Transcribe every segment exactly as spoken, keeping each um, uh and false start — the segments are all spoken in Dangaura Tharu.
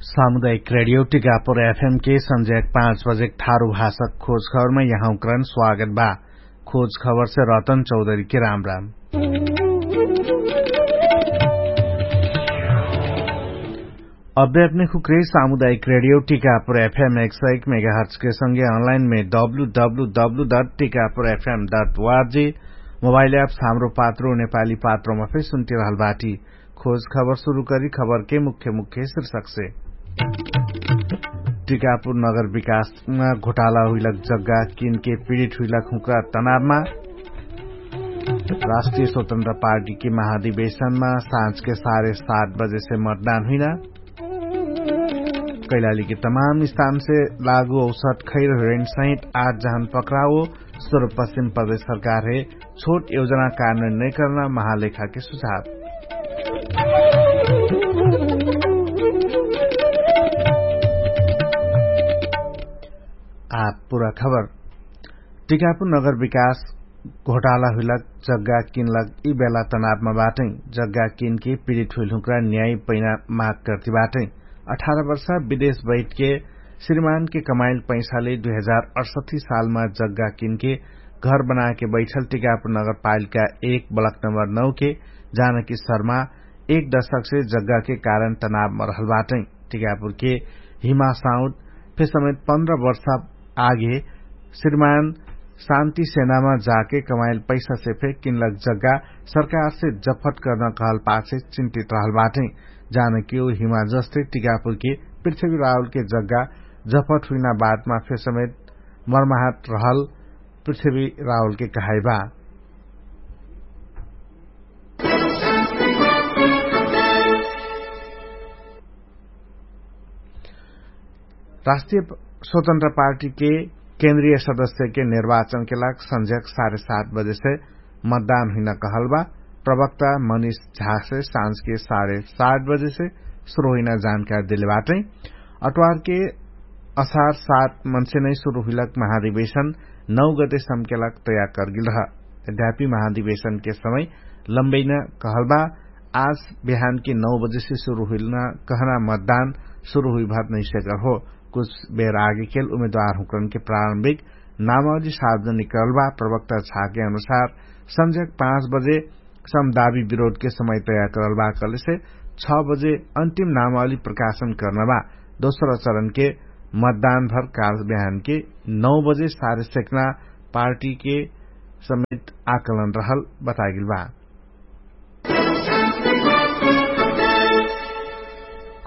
सामुदायिक रेडियो टिकापुर एफएम के संज्याक पाँच बजेक थारु भाषक खोज खबरमा यहाँकरण स्वागत बा। खोज खबरसे रतन चौधरीके राम राम। अभ्यापने खुक्रे सामुदायिक रेडियो टिकापुर एफएम एक सय एक मेगाहर्चके संगे अनलाइनमे W W W dot Tikapur एफएम डट वार्जी मोबाइल एप्स हाम्रो पात्रो नेपाली पात्रोमा फेर सुन्टिरहल बाटी। खोज खबर सुरु करी खबरके मुख्य मुख्य शिर्षकसे। टिकापुर नगर विकासमा घोटाला हुइलक जग्गा किनके पिडित हुइलक हुँक्रा तनावमा। राष्ट्रिय स्वतन्त्र पार्टीके महाधिवेशनमा साँझके साढे सात बजेसे मतदान हुइना। कैलालीके तमाम स्थानसे लागु औसत खैर हुइरेन सहित आठ जहन पक्राओ। सुरु पश्चिम प्रदेश सरकारहे छोट योजना कारणन नैकर्ना महालेखाके सुझाव। आठ पुरा खबर। टिकापुर नगर विकास घोटाला हुइलक जग्गा किनलक यि बेला तनावमा बाटै। जग्गा किनके पिडित हुइलहुँक्रा न्याय पैना माग कर्ति बाटै। अठार वर्षा विदेश बैठके श्रीमानके कमाइल पैसाले दुई हजार अठसठी सालमा जग्गा किनके घर बनाके बैठल टिकापुर नगरपालिका एक ब्लक नम्बर नौके जानकी शर्मा एक दशकसे जग्गाके कारण तनावमा रहल बाटै। टिकापुरके हिमा साउद फेर समेत पन्ध्र वर्षा आगे श्रीमान शान्ति सेनामा जाके कमाइल पैसासे फेर किनलक जग्गा सरकारसे जफट कर्ना कहल पाछे चिन्तित रहल बाटै। जानकी उ हिमा जस्तै टिकापुरके पृथ्वी राहुलके जग्गा जफट हुइना बादमा फेर समेत मर्माहट रहल पृथ्वी राहुलके कहाइबा। राष्ट्रिय स्वतन्त्र पार्टीके केन्द्रिय सदस्यके निर्वाचनके लाग संझ्याक साढे सात बजेसे मतदान हुइना कहलबा। प्रवक्ता मनिष झासे साँझके साढे सात बजेसे सुरु हुइना जानकारी देले बाटै। अट्वारके असार सात मनसे नै सुरु हुइलक महाधिवेशन नौ गते सम्केलक तयार करगिल रह। यद्यापि महाधिवेशनके समय लम्बैना कहलबा। आज बिहानके नौ बजेसे सुरु हुइलना कहना मतदान सुरु हुइभर नैसेकर हो। कुछ बेर आगेकेल उमेदवारहुँकरनके प्रारम्भिक नामावली सार्वजनिक करलबा। प्रवक्ता झाके अनुसार संझ्याक पाँच बजे समदावी विरोधके समय तयार करलबा कहलेसे छ बजे अन्तिम नामावली प्रकाशन कर्नबा। दोस्रो चरणके मतदानभर काल बिहानके नौ बजे सारे सेक्ना पार्टीके समेत आकलन रहल बतागिलबा।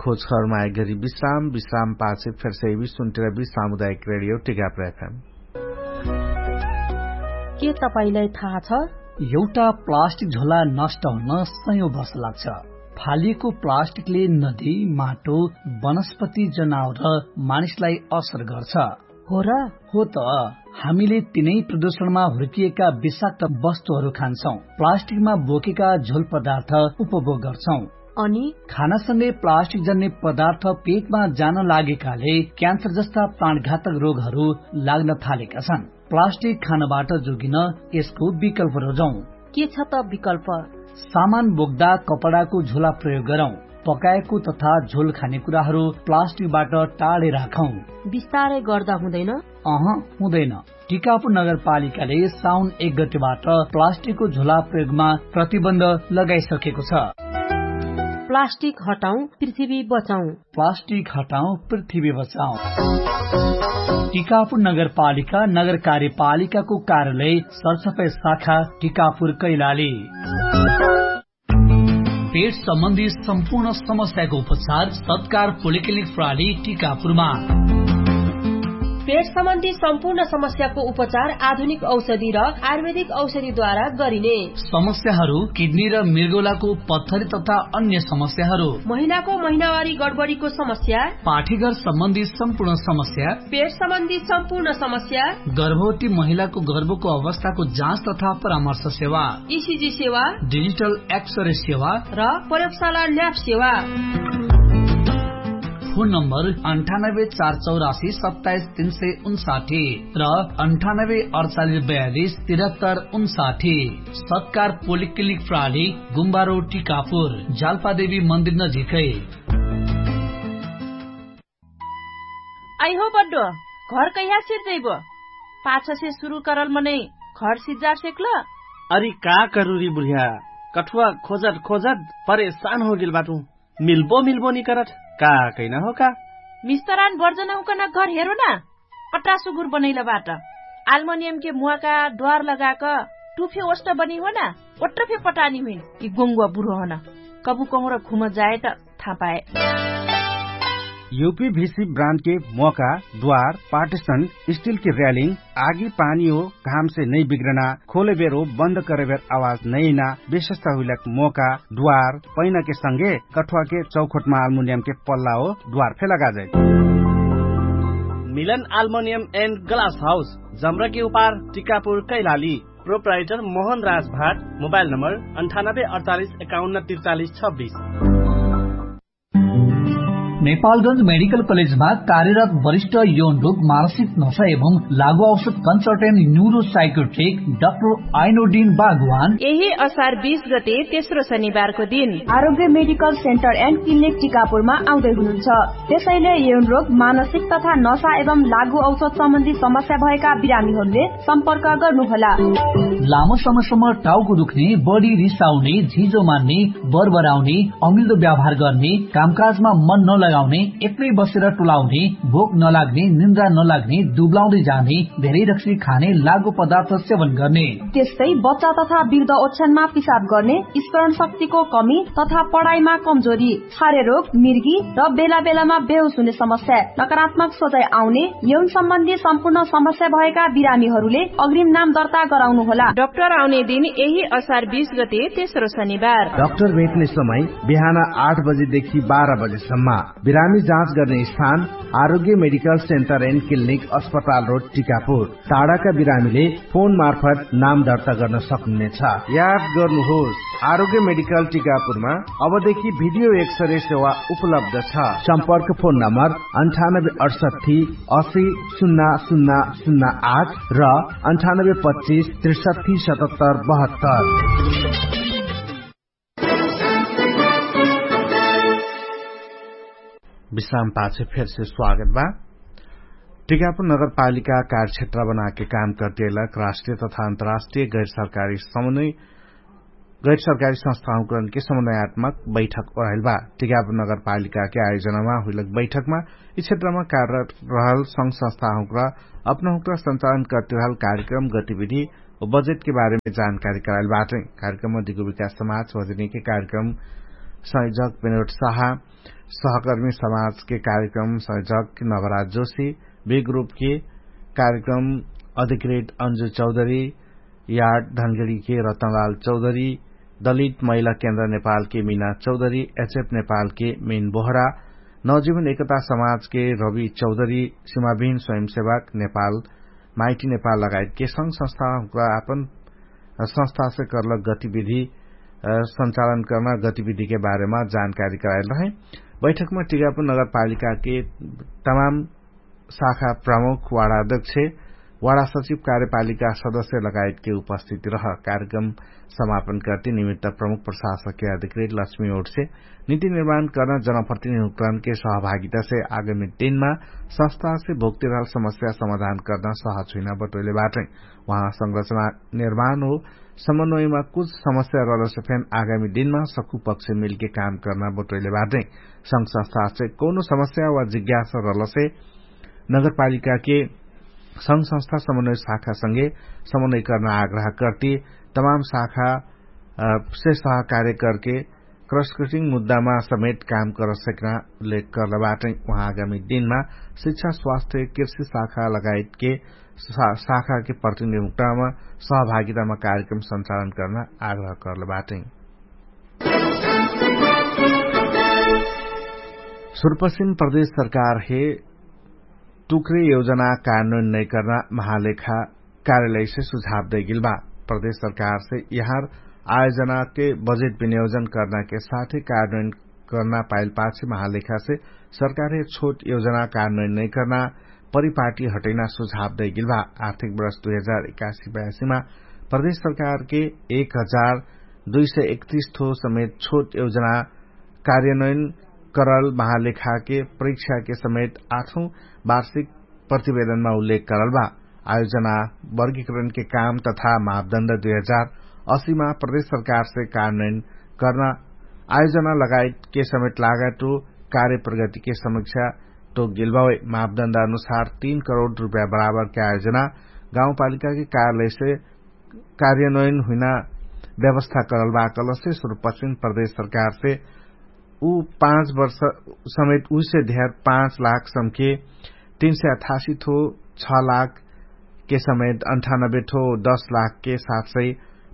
खोज खबरमा आइगरी विश्राम विश्राम पाछे फेरसे यबी सुन्टिरबी सामुदायिक रेडियो टिकाप्र एफएम। के तपाईंलाई थाहा छ? एउटा प्लास्टिक झोला नष्ट हुन सयौं वर्ष लाग्छ। फालिएको प्लास्टिकले नदी, माटो, वनस्पति, जनावर र मानिसलाई असर गर्छ। हो र? हो त। हामीले तिनै प्रदूषणमा हुर्किएका विषाक्त वस्तुहरू खान्छौं। प्लास्टिकमा बोकेका झोल पदार्थ उपभोग गर्छौं। अनि खानासँगै प्लास्टिक जन्ने पदार्थ पेटमा जान लागेकाले क्यान्सर जस्ता प्राणघातक रोगहरू लाग्न थालेका छन्। प्लास्टिक खानबाट जोगिन यसको विकल्प रोजौं। के छ त विकल्प? सामान बोक्दा कपडाको झोला प्रयोग गरौं। पकाएको तथा झोल खाने कुराहरू प्लास्टिकबाट टाढे राखौं। बिस्तारै गर्दा हुँदैन? अह, हुँदैन। टिकापुर नगरपालिकाले साउन एक गतिबाट प्लास्टिकको झोला प्रयोगमा प्रतिबन्ध लगाइसकेको छ। प्लास्टिक हटाउँ, पृथ्वी बचाउँ। प्लास्टिक हटाउँ, पृथ्वी बचाउँ। टिकापुर नगरपालिका नगर कार्यपालिकाको कार्यालय सरसफाई शाखा टिकापुर कैलाली। पेट सम्बन्धी सम्पूर्ण समस्याको उपचार सत्कार पोलिक्लिनिक प्रणाली टिकापुरमा। पेट सम्बन्धी सम्पूर्ण समस्याको उपचार आधुनिक औषधि र आयुर्वेदिक औषधिद्वारा गरिने। समस्याहरू किडनी र मृगौलाको पत्थरी तथा अन्य समस्याहरू। महिनाको महिनावारी गडबडीको समस्या। पाठीघर सम्बन्धी सम्पूर्ण समस्या। पेट सम्बन्धी सम्पूर्ण समस्या। गर्भवती महिलाको गर्भको अवस्थाको जाँच तथा परामर्श सेवा। इसिजी सेवा। डिजिटल एक्सरे सेवा। र प्रयोगशाला ल्याब सेवा। फोन नम्बर अन्ठानब्बे चार चौरासी सत्ताइस तीन सय उन्साठी र अन्ठानब्बे अडचालिस बयालिस तिरहत्तर उन्साठी। सत्कार पोलिक्लिनिक प्रणाली गुम्बारो टिकापुर जालपादेवी मन्दिर नजिकै। अइहो बड्डो, घर कहिया सिर्जैबो? पाछसे सुरु करल मनै घर सिज्जा सेक्ल। अरि का करुरी बुढिया, कठुवा खोजत खोजत परेशान होगेल बाटु। मिल्बो मिल्बो निकरत, का कैना हो का? मिस्तरान बर्जनहुकन घर हेरो ना, कट्रा सुगुर बनैल बाट। आल्मोनियमके मुवाका द्वार लगाक टुफे ओष्ट बनी हो ना, ओट्रफे पटानी हुइन कि गोङ्गुवा बुढो हन। कबु कहुँर घुम जाए त थापाए। युपी भिसी ब्रान्डके मोका द्वार पार्टिसन स्टिलके र्यालिङ आगी पानी हो घामसे नै बिग्रना, खोले बेर हो बन्द करे बेर आवाज नैना, विशेषता हुइलक मोका द्वार पैनाके संगे कठुवाके चौखोटमा आल्मुनियमके पल्ला हो द्वार फे लगाजै। मिलन आल्मुनियम एन्ड ग्लास हाउस जम्रके उपार टिकापुर कैलाली। प्रोप्राइटर मोहन राज भाट। मोबाइल नम्बर अन्ठानब्बे अडचालिस एकाउन्न त्रिचालिस छब्बिस। नेपालगंज मेडिकल कलेजमा कार्यरत वरिष्ठ यौन रोग मानसिक नशा एवं लागु औषध कन्सल्टेन्ट न्युरोसाइकोट्रिक डाक्टर आइनोडिन बागवान यही असार बीस गते तेस्रो शनिबारको दिन आरोग्य मेडिकल सेन्टर एन्ड क्लिनिक टिकापुरमा आउँदै हुनुहुन्छ। त्यसैले यौन रोग मानसिक तथा नशा एवं लागु औषध सम्बन्धी समस्या भएका बिरामीहरूले सम्पर्क गर्नुहोला। लामो समयसम्म टाउको दुख्ने, बढी रिसाउने, झिजो मान्ने, बरबराउने, अमिल्दो व्यवहार गर्ने, कामकाजमा मन नलगाउने, एक्लै बसेर टुलाउने, भोक नलाग्ने, निन्द्रा नलाग्ने, दुब्लाउँदै जाने, धेरै रक्सी खाने, लागु पदार्थ सेवन गर्ने, त्यस्तै बच्चा तथा वृद्ध ओछ्यानमा पिसाब गर्ने, स्मरण शक्तिको कमी तथा पढाइमा कमजोरी, छारे रोग, मिर्गी र बेला बेलामा बेहोस हुने समस्या, नकारात्मक सोचाइ आउने, यौन सम्बन्धी सम्पूर्ण समस्या भएका बिरामीहरूले अग्रिम नाम दर्ता गराउनुहोला। डाक्टर आउने दिन यही असार बीस गते तेस्रो शनिबार। डाक्टर भेट्ने समय बिहान आठ बजेदेखि बाह्र बजेसम्म। बिरामी जाँच गर्ने स्थान आरोग्य मेडिकल सेन्टर एन्ड क्लिनिक अस्पताल रोड टिकापुर। टाढाका बिरामीले फोन मार्फत नाम दर्ता गर्न सक्नुहुनेछ। याद गर्नुहोस्, आरोग्य मेडिकल टिकापुरमा अबदेखि भिडियो एक्सरे सेवा उपलब्ध छ। सम्पर्क फोन नम्बर अन्ठानब्बे अडसट्ठी असी सुन्ना सुन्ना सुन्ना आठ र अन्ठानब्बे पच्चिस त्रिसट्ठी सतहत्तर बहत्तर। विश्राम पाछे फेरसे स्वागत बा। टिकापुर नगरपालिका कार्यक्षेत्र बनाके काम करतियलक राष्ट्रिय तथा अन्तर्राष्ट्रिय गैर सरकारी समन्वय गैर सरकारी संस्थाहुकरणके समन्वयात्मक बैठक ओराइल बा। टिकापुर नगरपालिकाके आयोजनामा हुइलक बैठकमा यि क्षेत्रमा कार्यरत रहल संघ संस्थाहुकरा अपनहुकरा सञ्चालन करतिरहल कार्यक्रम गतिविधि व बजेटके बारेमे जानकारी कराइल बाटै। कार्यक्रममा दिगो विकास समाज वजनीके कार्यक्रम संयोजक विनोद साहा, सहकर्मी समाजके कार्यक्रम संयोजक नवराज जोशी, बी ग्रुपके कार्यक्रम अधिकृत अन्जु चौधरी, यार्ड धनगडीके रतनलाल चौधरी, दलित महिला केन्द्र नेपालके मिना चौधरी, एचएफ नेपालके मिन बोहरा, नवजीवन एकता समाजके रवि चौधरी, सिमाविन स्वयंसेवक नेपाल माइटी नेपाल लगायतके संघ संस्था हुँक्रा आपन संस्थासे कर्लक गतिविधि सञ्चालन कर्ना गतिविधिके बारेमा जानकारी कराइल रहै। बैठकमा टिकापुर नगरपालिकाके तमाम शाखा प्रमुख वाडा अध्यक्ष, वाडा सचिव कार्यपालिका सदस्य लगायतके उपस्थिति रह। कार्यक्रम समापन करती निमित्त प्रमुख प्रशासकके अधिकृत लक्ष्मी ओटसे निति निर्माण कर्ना जनप्रतिनिधि हुँक्रानके सहभागितासे आगामी दिनमा संस्थासे भोक्तिरहल समस्या समाधान कर्ना सहज हुइना बटोइले बाटै। उहाँ संरचना निर्माण हो समन्वयमा कुछ समस्या रहलसे फेन आगामी दिनमा सक्कु पक्ष मिलके काम कर्ना बटोइले बाटै। संघ संस्थासे कौनो समस्या वा जिज्ञासा रहलसे नगरपालिकाके संघ संस्था समन्वय शाखासँगे समन्वय कर्ना आग्रह कर्ती तमाम शाखा से सहकार्य करके क्रसकटिङ मुद्दामा समेत काम कर सकना उल्लेख कर्ल बाटै। उहाँ आगामी दिनमा शिक्षा स्वास्थ्य कृषि शाखा लगायतके शाखाके प्रतिनिधिमा सहभागितामा कार्यक्रम सञ्चालन कर्ना आग्रह कर्ल बाटै। सुरपश्चिम प्रदेश सरकार हे टुक्रे योजना कार्यान्वयन नैकर्ना महालेखा कार्यालयसे सुझाव दैगिल बा। प्रदेश सरकारसे यहाँर आयोजनाके बजेट विनियोजन कर्नाके साथे कार्यान्वयन कर्ना पाइल पाछे महालेखासे सरकारहे छोट योजना कार्यान्वयन नैकर्ना परिपाटी हटैना सुझाव दैगिल बा। आर्थिक वर्ष दुई हजार एकासी बयासीमा प्रदेश सरकारके एक हजार दुई सय एकतिस थो समेत छोट योजना कार्यान्वयन करल महालेखाके परीक्षाके समेत आठौँ वार्षिक प्रतिवेदनमा उल्लेख करल बा। आयोजना वर्गीकरणके काम तथा मापदण्ड दुई हजार असीमा प्रदेश सरकारसे कार्यान्वयन कर्ना आयोजना लगायतके समेत लागेटो कार्यप्रगतिके समीक्षा टोक गेलबावे। मापदण्ड अनुसार तीन करोड रुपैया बराबरके आयोजना गाउँपालिकाके कार्यालयसे कार्यान्वयन हुइना व्यवस्था करल बा। कलसे सुरुपश्चिम प्रदेश सरकारसे उ पाँच वर्ष समेत उसे धेर पाँच लाख समके तीन सय अठासी थो छ लाख के समेत अन्ठानब्बे थो दस लाख के सात सय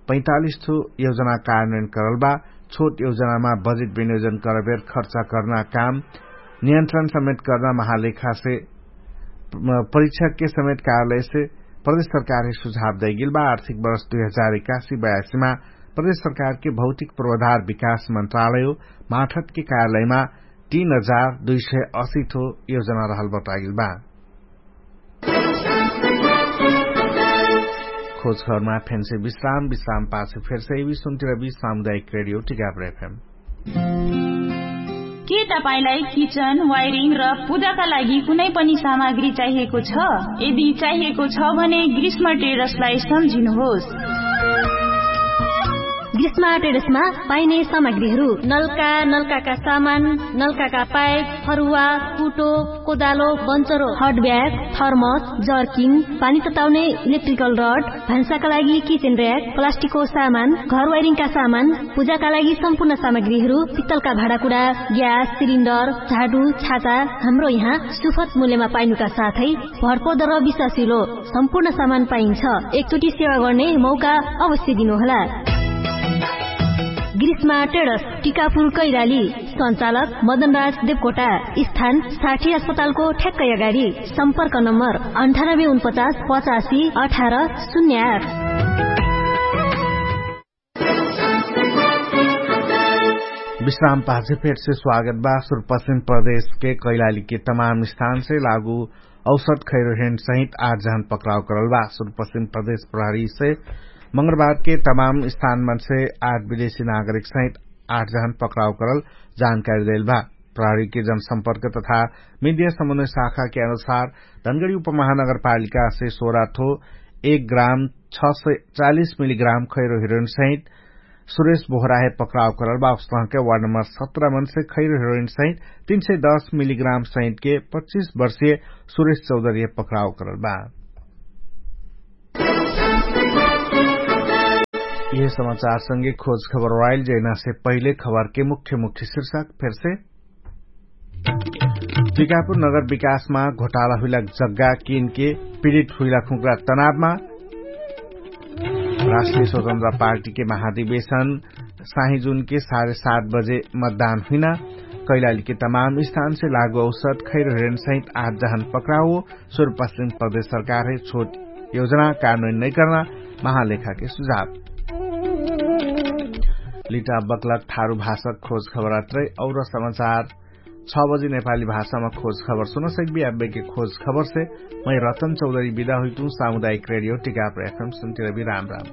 पैँतालिस थो योजना कार्यान्वयन करल बा। छोट योजनामा बजेट विनियोजन करबेर खर्चा कर्ना काम नियन्त्रण समेत कर्ना महालेखासे परीक्षकके समेत कार्यालयसे प्रदेश सरकारके सुझाव दैगेल बा। आर्थिक वर्ष दुई हजार एकासी बयासीमा प्रदेश सरकारके भौतिक पूर्वाधार विकास मन्त्रालय माठतके कार्यालयमा तीन हजार दुई सय असी थो योजना रहल बतागेल बा। खोज खबरमा फेन्से विश्राम विश्राम पाछे फेर्से एवी सुन्तिरबी सामुदायिक रेडियो टिकाप्रेफेम। के तपाईंलाई किचन वायरिङ र पूजाका लागि कुनै पनि सामग्री चाहिएको छ? यदि चाहिएको छ भने ग्रीष्म ट्रेडर्सलाई सम्झिनुहोस्। ग्रीष्म ट्रेडर्समा पाइने सामग्रीहरू नल्का नल्काका सामान, नल्काका पाइप, फरुवा, कुटो, कोदालो, बन्चरो, हट ब्याग, थर्मस, जर्किङ, पानी तताउने इलेक्ट्रिकल रड, भान्साका लागि किचेन र्याक, प्लास्टिकको सामान, घर वाइरिङका सामान, पूजाका लागि सम्पूर्ण सामग्रीहरू, पित्तलका भाँडाकुडा, ग्यास सिलिन्डर, झाडु, छाता, हाम्रो यहाँ सुफत मूल्यमा पाइनुका साथै भरपर्दो र विश्वासिलो सम्पूर्ण सामान पाइन्छ। एकचोटि सेवा गर्ने मौका अवश्य दिनुहोला। ग्रीष्मा टेडस, टिकापुर कैलाली। सञ्चालक मदनराज देवकोटा। स्थान साठी अस्पतालको ठ्याक्कै अगाडि। सम्पर्क नम्बर अन्ठानब्बे उनपचास पचासी अठार शून्य आठ। विश्राम पाछे फेरसे स्वागत बा। सुरपश्चिम प्रदेशके कैलालीके तमाम स्थानसे लागू औसत खैरोहेन सहित आठ जहन पक्राउ करल बा। सुरपश्चिम प्रदेश प्रहरीसे मंगलबारके तमाम स्थानमनसे आठ विदेशी नागरिक सहित आठ जहन पक्राउ करल जानकारी देल बा। प्रहरीके जनसम्पर्क तथा मिडिया समन्वय शाखाके अनुसार धनगडी उपमहानगरपालिकासे सोरा थो एक ग्राम छ सय चालिस मिलिग्राम खैरो हिरोइन सहित सुरेश बोहराहे पक्राउ करल बा। उसलहके वार्ड नम्बर सत्र मनसे खैरो हिरोइन सहित तीन सय दस मिलिग्राम सहितके पच्चिस वर्षीय सुरेश चौधरीहे पक्राउ करल बा। यह समाचारसँगे खोज खबर वाइल जैनासे पहिले खबरके मुख्य मुख्य शीर्षक फेरसे। टिकापुर नगर विकासमा घोटाला हुइला जग्गा किनके पिडित हुइला खुक्रा तनावमा। राष्ट्रिय स्वतन्त्र पार्टीके महाधिवेशन साहिजुनके साढे सात बजे मतदान हुइना। कैलालीके तमाम स्थानसे लागु औसत खैर हेरेन सहित आठ जहन पक्राउ। सुरुपश्चिम प्रदेश सरकारहे छोट योजना कानुन नैकर्ना महालेखाके सुझाव। लिटा बक्लक थारु भाषक खोज खबरात्रै और समाचार छ बजी नेपाली भाषामा खोज खबर सुनसक्बी। अब्बेके खोज खबरसे मै रतन चौधरी बिदा हुइतु। सामुदायिक रेडियो टिकाप्र एफएम सुन्तिरबी। राम राम।